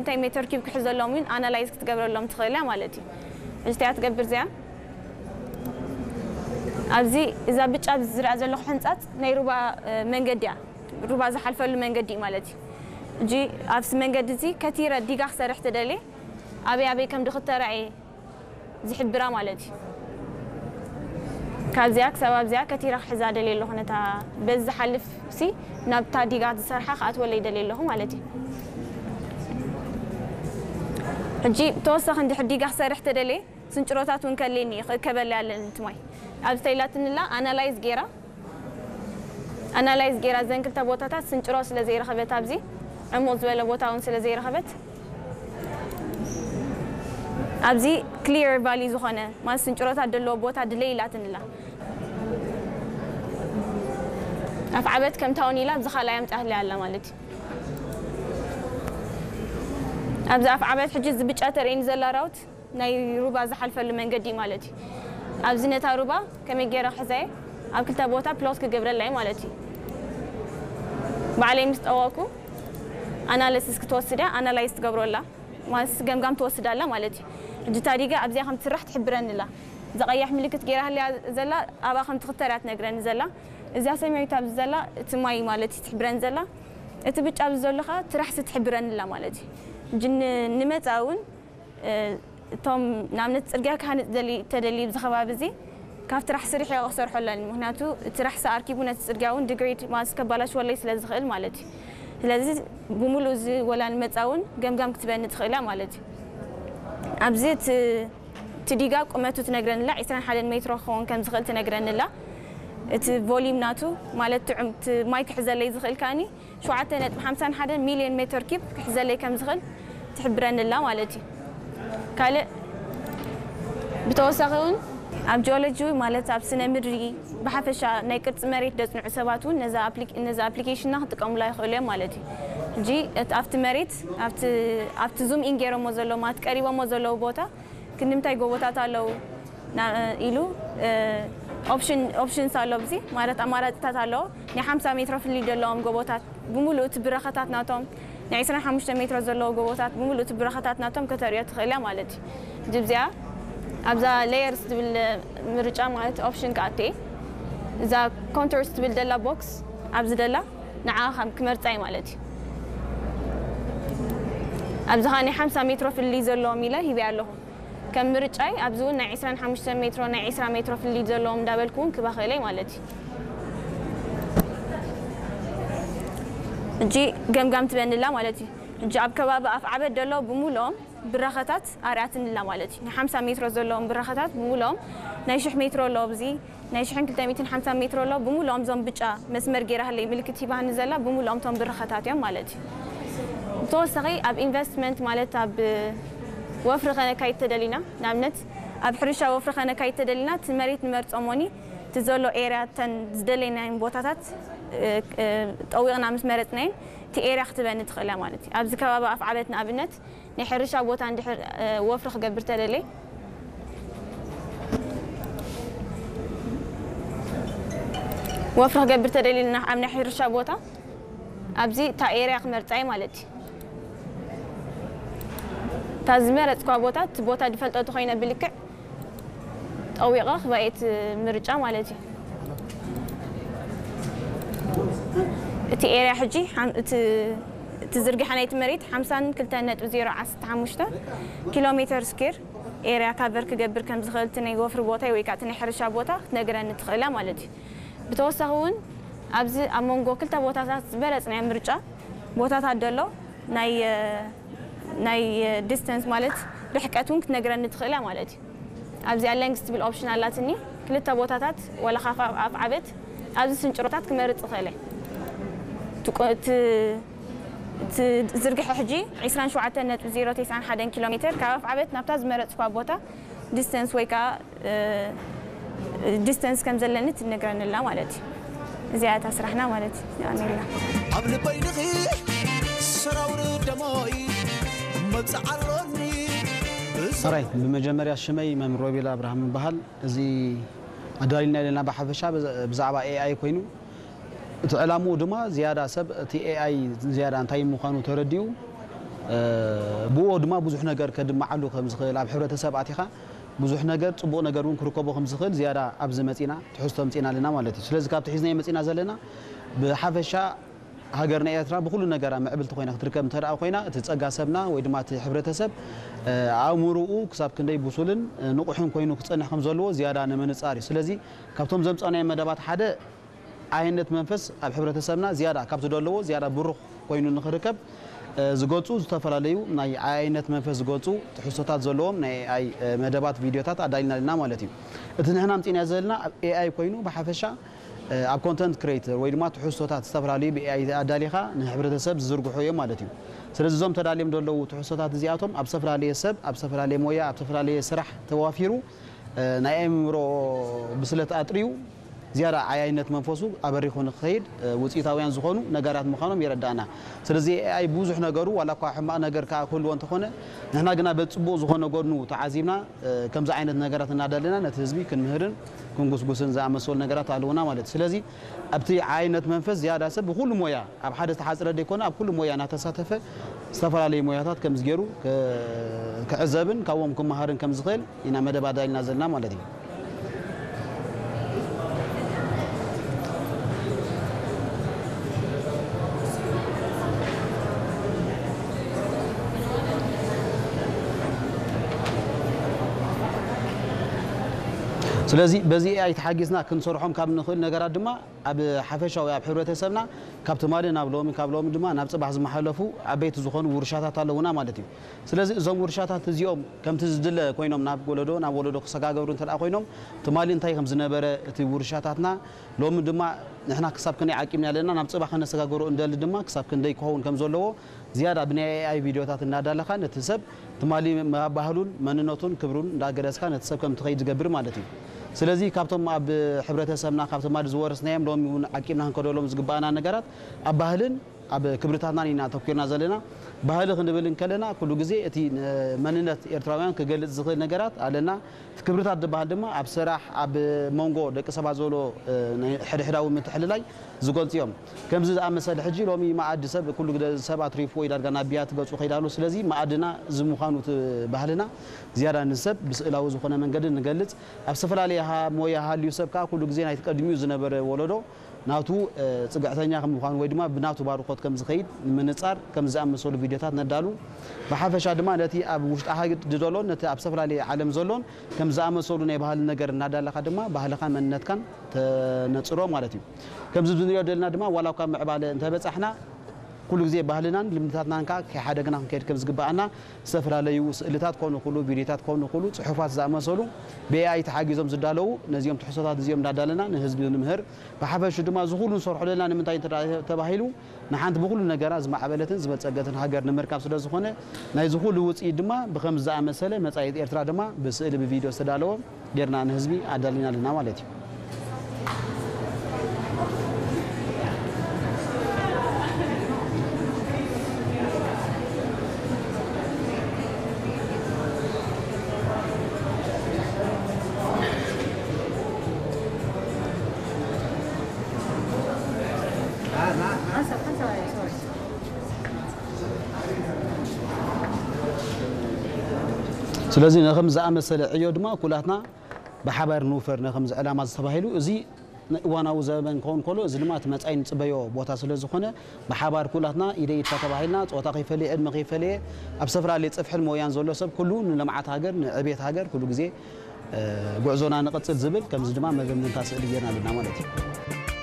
እንታይ ሜተር ኪዩብ ክሕዘሎም እውን ኣናላይዝ ክትገብረሎም ትኽእል እያ ማለት እዩ። እዚ እንታይ እያ ትገብር እዚኣ? ኣብዚ እዛ ብጫ ኣብዚ ዝርኣ ዘለኹ ሕንጻጽ ናይ ሩባ መንገዲ እያ። ሩባ ዝሓልፈሉ መንገዲ እዩ ማለት እዩ። እጂ ኣብዚ መንገዲ እዚ ከቲረ ዲጋ ክሰርሕ ተደልየ ኣበይ ኣበይ ከም ድኽተራእየ ዝሕብራ ማለት እዩ። ካብዚኣ ክሳብ ኣብዚኣ ከቲራ ክሕዛ ደልየ ኣለኹ። ነታ በዚ ዝሓልፍ ሲ ናብታ ዲጋ ዝሰርሓ ክኣትወለይ ደልየ ኣለኹ ማለት እዩ። ሕጂ ተወሳኺ እንድሕር ዲጋ ክሰርሕ ተደልየ ስንጭሮታት እውን ከልየኒ እዩ፣ ክእከበለይ ኣለኒ እቲ ማይ። ኣብዚ ተይላትንላ ኣናላይዝ ገይራ ኣናላይዝ ገይራ ዘን ክልተ ቦታታት ስንጭሮ ስለ ዘይረኸበት ኣብዚ ዕሙቕ ዝበለ ቦታ እውን ስለ ዘይረኸበት ኣብዚ ክሊር ቫሊ ዝኾነ ማለት ስንጭሮታት ዘለዎ ቦታ ድለይ ኢላትንላ ኣፍዓበት ከምታውን ኢላ ኣብዚ ካልኣይ ኣምፃህለይ ኣላ ማለት እዩ። ኣብዚ ኣፍዓበት ሕጂ እዚ ብጫ ተርእኒ ዘላ ራውት ናይ ሩባ ዝሓልፈሉ መንገዲ ማለት እዩ። ኣብዚ ነታ ሩባ ከመይ ገይረ ክሕዘየ ኣብ ክልተ ቦታ ፕሎት ክገብረላ እዩ ማለት እዩ። ባዕለይ ምስ ጠወኩ ኣናሊሲስ ክትወስድ እያ፣ ኣናላይዝ ትገብረላ ማለት ገምጋም ትወስድ ኣላ ማለት እዩ። ሕጂ ታዲጋ ኣብዚኣ ከም ትስራሕ ትሕብረኒ ኣላ። እዛ ቀያሕ ምልክት ገይራ ህልያ ዘላ ኣብኣ ከም ትኽተር እያ ትነግረኒ ዘላ። እዚኣ ሰማያዊት ኣብዚ ዘላ እቲ ማይ ማለት እዩ ትሕብረኒ ዘላ። እቲ ብጫ ኣብዚ ዘሎ ከዓ ትራሕሲ ትሕብረኒ ኣላ ማለት እዩ። ሕጂ ን- ንመጻኢ እውን እቶም ንኣብነት ጽርግያ ክሃንጽ ደሊ ተደልዩ ኣብዚ ከባቢ እዚ ካብ ትራሕ ስርሕ ክሰርሖ ኣለኒ። ምክንያቱ እቲ ራሕሲ ኣርኪቡ ነቲ ጽርግያ እውን ድግሬድ ማለት ከባላሽወለይ ስለ ዝኽእል ማለት እዩ። ስለዚ ብምሉእ እዚ ወላ ንመጻ እውን ገምጋም ክትበኒ ትኽእል እያ ማለት እዩ። ኣብዚ እቲ እቲ ዲጋ ቁመቱ ትነግረንላ ዕስራን ሓደን ሜትሮ ክኸውን ከም ዝኽእል ትነግረንላ። እቲ ቮሊም ናቱ ማለት እቲ ዑም- እቲ ማይ ክሕዘለይ ዝኽእል ከኣኒ ሸውዓተ ነጥቢ ሓምሳን ሓደን ሚልዮን ሜትር ኪብ ክሕዘለይ ከም ዝኽእል ትሕብረኒ ኣላ ማለት እዩ። ካልእ ብተወሳኺ እውን ኣብ ጂኦሎጂ ማለት ኣብ ስነ ምድሪ ብሓፈሻ ናይ ቅርፂ መሬት ደፅንዑ ሰባት እውን ነዛ ኣፕሊ- ነዛ ኣፕሊኬሽንና ክጥቀሙላ ይኽእሉ እዮም ማለት እዩ። ሕጂ እቲ ኣብቲ መሬት ኣብቲ ኣብቲ ዙም ኢን ገይሮሞ ዘለዉ ማለት ቀሪቦሞ ዘለዉ ቦታ ክንምንታይ ጎቦታት ኣለዉ ና- ኢሉ ኦፕሽን ኦፕሽንስ ኣሎ ኣብዚ ማለት ኣማራፅታት ኣለዎ። ናይ ሓምሳ ሜትሮ ፍልይ ዘለዎም ጎቦታት ብምሉእ እቲ ብረኸታት ናቶም ናይ ዕስራን ሓሙሽተ ሜትሮ ዘለዎ ጎቦታት ብምሉእ እቲ ብረኸታት ናቶም ከተርእዮ ትኽእል እያ ማለት እዩ። ሕጂ እዚኣ ኣብዛ ሌየርስ ትብል ምርጫ ማለት ኦፕሽን ክኣቱ እየ። እዛ ኮንቶርስ ትብል ደላ ቦክስ ኣብዚ ደላ ንዓ ከም ክመርፃ እዩ ማለት እዩ። ኣብዚ ከዓ ናይ ሓምሳ ሜትሮ ፍልይ ዘለዎም ኢለ ሂበያ ኣለኹ። ከም ምርጫይ ኣብዚ እውን ናይ ዕስራን ሓሙሽተ ሜትሮ ናይ ዕስራ ሜትሮ ፍልይ ዘለዎም እንዳበልኩ እውን ክበኽእለይ ማለት እዩ። ሕጂ ገምጋም ትበንላ ማለት እዩ። ሕጂ ኣብ ከባቢ ኣፍ ዓበድ ደሎ ብምልኦም ብራኸታት ኣርኣትንላ ማለት እዩ። ናይ ሓምሳ ሜትሮ ዘለዎም ብራኸታት ብምልኦም ናይ ሽሕ ሜትሮ ኣሎ ኣብዚ ናይ ሽሕን ክልተ ሚእትን ሓምሳ ሜትሮ ኣሎ ብምልኦም እዞም ብጫ መስመር ገይራ ህለይ ምልክት ሂባኒ ዘላ ብምልኦም እቶም ብራኸታት እዮም ማለት እዩ። ብተወሳኺ ኣብ ኢንቨስትመንት ማለት ኣብ ወፍሪ ከነካይድ ተደሊና ንኣብነት ኣብ ሕርሻ ወፍሪ ከነካይድ ተደሊና እቲ መሬት ንመርፆ ሞኒ እቲ ዘሎ ኤርያ እተን ዝደለይናየን ቦታታት ጠዊቕና ምስ መረፅናየን እቲ ኤርያ ክትበኒ ትኽእላ ማለት እዩ። ኣብዚ ከባቢ ኣፍ ዓበት ንኣብነት ናይ ሕርሻ ቦታ እንድሕር ወፍሪ ክገብር ተደልየ ወፍሪ ክገብር ተደልየ ኣብ ናይ ሕርሻ ቦታ ኣብዚ እታ ኤርያ ክመርፃ እየ ማለት እዩ። እታ ዝመረፅኳ ቦታ እቲ ቦታ ዝፈልጦ ተኮይነ ብልክዕ ጠዊቐ ክባኤት ምርጫ ማለት እዩ። እቲ ኤርያ ሕጂ እቲ ዝርግሐ ናይቲ መሬት ሓምሳን ክልተን ነጥቢ ዜሮ ዓሰርተ ሓሙሽተ ኪሎ ሜተር ስኩር ኤርያ ካቨር ክገብር ከም ዝኽእል እቲ ናይ ወፍሪ ቦታይ ወይ ከዓ እቲ ናይ ሕርሻ ቦታ ክትነግረኒ ትኽእላ ማለት እዩ። ብተወሳኺ እውን ኣብዚ ኣብ መንጎ ክልተ ቦታታት ዝበለፅናዮ ምርጫ ቦታታት ዘሎ ናይ ናይ ዲስተንስ ማለት ርሕቀት እውን ክትነግረኒ ትኽእላ ማለት እዩ። ኣብዚኣ ሌንግስ ትብል ኦፕሽን ኣላትኒ ክልተ ቦታታት ወላ ካብ ኣፍ ዓበት ኣብዚ ስንጭሮታት ክመርፅ ይኽእለ። እቲ ዝርግሐ ሕጂ ዕስራን ሸውዓተን ነጥቢ ዜሮ ተስዓን ሓደን ኪሎ ሜትር ካብ ኣፍ ዓበት ናብታ ዝመረፅኳ ቦታ ዲስተንስ ወይ ከዓ ዲስተንስ ከም ዘለኒ ትነግረንላ ማለት እዩ። እዚኣ እታ ስራሕና ማለት እዩ። የቐንየልና። ኣብ ልበይ ንኺ ሰራውር ደሞይ መብፅዓ ኣሎኒ። ሕራይ፣ ብመጀመርያ ሽመይ መምህር ሮቤል ኣብርሃም ይበሃል። እዚ ኣዳሊና ዘለና ብሓፈሻ ብዛዕባ ኤኣይ ኮይኑ እቲ ዕላምኡ ድማ ዝያዳ ሰብ እቲ ኤኣይ ዝያዳ እንታይ ምዃኑ ተረዲኡ ብኡ ድማ ብዙሕ ነገር ከድመዓሉ ከም ዝኽእል፣ ኣብ ሕብረተሰብ ኣቲኻ ብዙሕ ነገር፣ ጽቡቕ ነገር እውን ክርከቦ ከም ዝኽእል ዝያዳ ኣብዚ መጺና ትሕዝቶ ኣምጺእና ኣለና ማለት እዩ። ስለዚ ካብቲ ሒዝናዮ መጺና ዘለና ብሓፈሻ ሃገርና ኤርትራ ብኹሉ ነገራ ምዕብልቲ ኮይና ክትርከብ እንተ ደኣ ኮይና፣ እቲ ጸጋ ሰብና ወይ ድማ እቲ ሕብረተሰብ፣ እ፣ ኣእምሮኡ ክሳብ ክንደይ ብሱልን፣ እ፣ ንቑሕን ኮይኑ ክጸንሕ ከም ዘለዎ ዝያዳ ንምንጻር እዩ። ስለዚ ካብቶም ዘምጻእናዮም መደባት ሓደ ዓያይነት መንፈስ ኣብ ሕብረተሰብና ዝያዳ ካብቲ ደለዎ ዝያዳ ብሩኽ ኮይኑ ንኽርከብ፣ እ፣ ዝገልጹ ዝተፈላለዩ ናይ ዓያይነት መንፈስ ዝገልጹ ትሕዝቶታት ዘለዎም ናይ ኤኣይ፣ እ፣ መደባት ቪድዮታት ኣዳሊና ኣለና ማለት እዩ። እቲ ንሕና ኣምጺእናዮ ዘለና ኣብ ኤኣይ ኮይኑ ብሓፈሻ እ፣ ኣብ ኮንተንት ክሬተር ወይ ድማ ትሕዝቶታት ዝተፈላለዩ ብኤኣይ ኣዳሊኻ ንሕብረተሰብ ዝዝርግሑ እዮም ማለት እዩ። ስለዚ እዞም ተዳልዮም ዘለዉ ትሕዝቶታት እዚኣቶም ኣብ ዝተፈላለየ ሰብ፣ ኣብ ዝተፈላለየ ሞያ፣ ኣብ ዝተፈላለየ ስራሕ ተዋፊሩ፣ እ፣ ናይ ኣእምሮ ብስለት ኣጥርዩ ዝያዳ ዓያይነት መንፈሱ ኣበሪኹ ንክኸይድ፣ እ፣ ውፅኢታውያን ዝኾኑ ነገራት ምዃኖም የረዳእና። ስለዚ ኤኣይ ብዙሕ ነገሩ ዋላ እኳ ሕማቕ ነገር ከኣ ክህልዎ እንተኾነ፣ ንሕና ግና በቲ ጽቡቕ ዝኾነ ጎድኑ ተዓዚብና፣ እ፣ ከምዚ ዓይነት ነገራት እናዳለና ነቲ ህዝቢ ክንምህርን ክንጉስጉስን ዝኣመሰሉ ነገራት ኣለዉና ማለት እዩ። ስለዚ ኣብቲ ዓይነት መንፈስ ዝያዳ ሰብ ብኹሉ ሞያ ኣብ ሓደ ዝተሓጽረ ዘይኮነ ኣብ ኩሉ ሞያ እናተሳተፈ ዝተፈላለዩ ሞያታት ከምዚ ገይሩ ክ-፣ ክዕዘብን ካብኦም ክመሃርን ከም ዝኽእል ኢና መደብ ኣዳሊና ዘለና ማለት እዩ። ስለዚ በዚ ኤኣይ ተሓጊዝና ክንሰርሖም ካብ ንኽእል ነገራት ድማ ኣብ ሓፈሻዊ ኣብ ሕብረተሰብና ካብ ትማሊ ናብ ሎሚ፣ ካብ ሎሚ ድማ ናብ ጽባሕ ዝመሓለፉ ዓበይቲ ዝኾኑ ውርሻታት ኣለዉና ማለት እዩ። ስለዚ እዞም ውርሻታት እዚኦም ከምቲ ዝድለ ኮይኖም ናብ ወለዶ ናብ ወለዶ ክሰጋገሩ እንተ ደኣ ኮይኖም፣ ትማሊ እንታይ ከም ዝነበረ እቲ ውርሻታትና፣ ሎሚ ድማ ንሕና ክሳብ ክንደይ ዓቂብና ኣለና፣ ናብ ጽባሕ ከነሰጋገሮ እንደሊ ድማ ክሳብ ክንደይ ክኸውን ከም ዘለዎ ዝያዳ ብናይ ኤኣይ ቪድዮታት እናዳለኻ ነቲ ሰብ ትማሊ ማ-፣ ባህሉን መንነቱን ክብሩን እንዳገለጽካ ነቲ ሰብ ከም ትኸይድ ዝገብር ማለት እዩ። ስለዚ ካብቶም ኣብ ሕብረተሰብና ካብ ትማሊ ዝወረስናዮም ሎሚ እውን ዓቂብና ክንከደሎም ዝግባኣና ነገራት ኣብ ባህልን ኣብ ክብርታትናን ኢና ኣተኲርና ዘለና። ባህሊ ክንብል እንከለና ኩሉ ግዜ እቲ ን-፣ መንነት ኤርትራውያን ክገልጽ ዝኽእል ነገራት ኣለና። እቲ ክብርታት ዝበሃል ድማ ኣብ ስራሕ፣ ኣብ መንጎ ደቂ ሰባት ዘሎ፣ እ፣ ናይ ሕድሕዳዊ ምትሕልላይ ዝገልጹ እዮም። ከምዚ ዝኣመሰለ ሕጂ ሎሚ መኣዲ ሰብ ኩሉ ግደ ሰብ ኣትሪፍዎ እዩ ዳርጋ ናብ ብያቲ ገጹ ከይድ ኣሎ። ስለዚ መኣድና እዚ ምዃኑ እቲ ባህልና ዝያዳ ንሰብ ብስእላዊ ዝኾነ መንገዲ ንገልጽ። ኣብ ዝተፈላለየ ሃ-፣ ሞያ ሃልዩ ሰብ ከኣ ኩሉ ግዜ ናይቲ ቀድሚኡ ዝነበረ ወለዶ ናቱ፣ እ፣ ጽግዕተኛ ከም ምዃኑ ወይ ድማ ብናቱ ባርኾት ከም ዝኸይድ ንምንጻር ከም ዝኣመሰሉ ቪድዮታት ነዳሉ። ብሓፈሻ ድማ ነቲ ኣብ ውሽጢ ዓዲ ዘሎን ነቲ ኣብ ዝተፈላለየ ዓለም ዘሎን ከም ዝኣመሰሉ ናይ ባህሊ ነገር እናዳለኻ ድማ ባህልኻን መንነትካን ተነጽሮ ማለት እዩ። ከምዚ ንሪኦ ዘለና ድማ ዋላ እኳ ምዕባለ እንተበጻሕና ኩሉ ግዜ ባህልናን ልምድታትናን ከኣ ከይሓደግና ክንከይድ ከም ዝግባኣና ዝተፈላለዩ ስእልታት ኮኑ ኩሉ ቪድዮታት ኮኑ ኩሉ ጽሑፋት ዝኣመሰሉ ብኤኣይ ተሓጊዞም ዝዳለዉ ነዚኦም ትሕዝቶታት እዚኦም እንዳዳለና ንህዝቢ ንምህር። ብሓፈሹ ድማ እዚ ኩሉ ንሰርሖ ዘለና ንምንታይ እንተ ተባሂሉ ንሓንቲ ብኩሉ ነገራ ዝማዕበለትን ዝበጸገትን ሃገር ንምርካብ ስለ ዝኾነ ናይዚ ኩሉ ውጽኢት ድማ ብኸምዚ ዝኣመሰለ መጻኢት ኤርትራ ድማ ብስእሊ ብቪድዮ ዝተዳለወ ጌርና ንህዝቢ ኣዳሊና ኣለና ማለት እዩ። ስለዚ ነኸም ዝኣመሰለ ዕዮ ድማ ኩላትና ብሓባር ንውፈር ነኸምዚ ዕላማ ዝተባሂሉ እዚ እዋናዊ ዘበን ክኸውን ከሎ እዚ ድማ እቲ መጻኢ ንጽበዮ ቦታ ስለ ዝኾነ ብሓባር ኩላትና ኢደ ኢድካ ተባሂልና ጾታ ከይፈለየ ዕድመ ከይፈለየ ኣብ ዝተፈላለየ ጽፍሕን ሞያን ዘሎ ሰብ ኩሉ ንልምዓት ሃገር ንዕቤት ሃገር ኩሉ ግዜ እ፣ ጉዕዞና ንቐጽል ዝብል ከምዚ ድማ መደምደምታ ስእሊ ጌርና ኣለና ማለት እዩ።